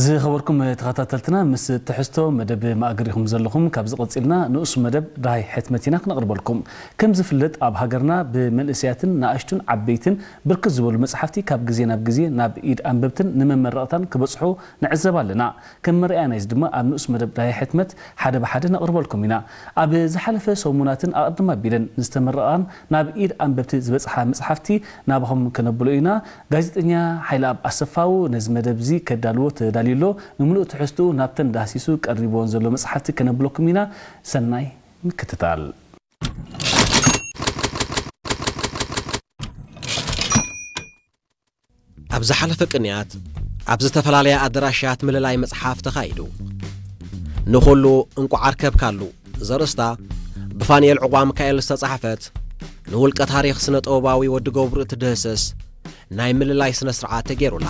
ዝኸበርኩም ተኸታተልትና፣ ምስ ትሕዝቶ መደብ ማእገር ኢኹም ዘለኹም። ካብዚ ቀጺልና ንኡስ መደብ ዳሃይ ሕትመት ኢና ክነቕርበልኩም። ከም ዝፍለጥ፣ ኣብ ሃገርና ብመንእሰያትን ንኣሽቱን ዓበይትን ብርክት ዝበሉ መጽሓፍቲ ካብ ግዜ ናብ ግዜ ናብ ኢድ ኣንበብትን ንመመረቕታን ክበጽሑ ንዕዘብ ኣለና። ከም መርኣያ ናይዚ ድማ ኣብ ንኡስ መደብ ዳሃይ ሕትመት ሓደ ብሓደ ነቕርበልኩም ኢና። ኣብ ዝሓለፈ ሰሙናትን ኣቐድም ኣቢለን ዝተመረቓን ናብ ኢድ ኣንበብቲ ዝበጽሓ መጽሓፍቲ ናባኹም ከነብሎ ኢና። ጋዜጠኛ ሓይለኣብ ኣሰፋው ነዚ መደብ እዚ ከዳልዎ ተዳልዩ ኣሎ። ንምሉእ ትሕዝትኡ ናብተን ዳህሲሱ ቀሪብዎን ዘሎ መጽሓፍቲ ከነብለኩም ኢና። ሰናይ ምክትታል። ኣብ ዝሓለፈ ቅንያት ኣብ ዝተፈላለያ ኣደራሻት ምልላይ መጽሓፍ ተኻይዱ። ንኹሉ እንቋዕ ኣርከብካሉ ዘርእስታ ብፋንኤል ዕቋ ሚካኤል ዝተጻሕፈት ንውልቀ ታሪኽ ስነ ጥበባዊ ወዲ ገብሩ እትድህስስ ናይ ምልላይ ስነ ስርዓት ተገይሩላ።